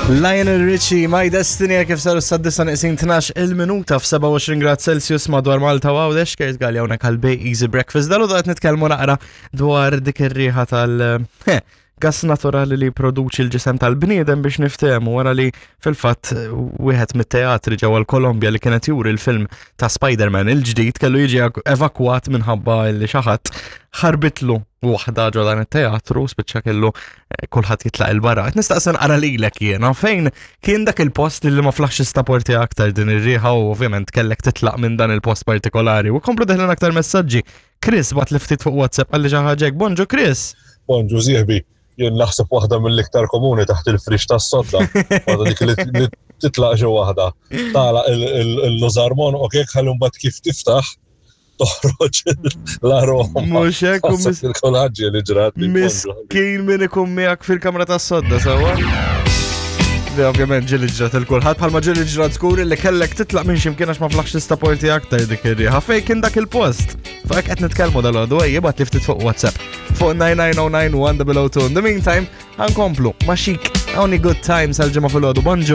Lionel Richie, My Destiny, kif saru s-saddisa neqsin 12 il-minuta f-27 grad Celsius madwar Malta u Għawdex, Kurt Galli hawnhekk għal Bay Easy Breakfast. Dalu qed nitkellmu naqra dwar dik ir-riħa tal- eh, gas naturali li produċi l-ġisem tal-bniedem biex niftehmu wara li fil-fatt wieħed mit-teatri ġewwa l-Kolombja li kienet juri l-film ta' Spider-Man il-ġdid kellu jiġi evakwat minħabba li xi ħadd ħarbitlu waħda ġo dan it-teatru spiċċa kellu eh, kulħadd jitlaq il-barra. Qed nistaqsi nqara lilek jiena fejn kien dak il-post li ma flaħx istaporti aktar din ir-riħa u ovvjament kellek titlaq minn dan il-post partikolari. U komplu deħlin aktar messaġġi. Chris bat li ftit fuq WhatsApp għalli xi ħaġa hekk. Bonġu Chris. Bonġu sieħbi, jien naħseb waħda mill-iktar komuni taħt il-frix tas-sodda. Waħda dik li titlaq ġo waħda. Tala il-lużarmon u kek ħalli mbagħad kif tiftaħ toħroġ l-aroma. Mhux hekk u mis- Il-kolaġġi li ġrat. Miskin min ikun miegħek fil-kamra tas-sodda sewwa. Li ovvjament ġieli ġrat il-kulħadd bħalma ġieli ġrat żgur li kellek titlaq minn x'imkien għax ma flaħx tistaporti aktar dik ir-riħa. Fejn kien dak il-post? Fuq hekk qed nitkellmu dal-għodu ejja bagħat li ftit fuq WhatsApp fuq 99091 In the meantime, ħankomplu ma' xik Only Good Times għal-ġimgħa fil-għodu. Bonġu.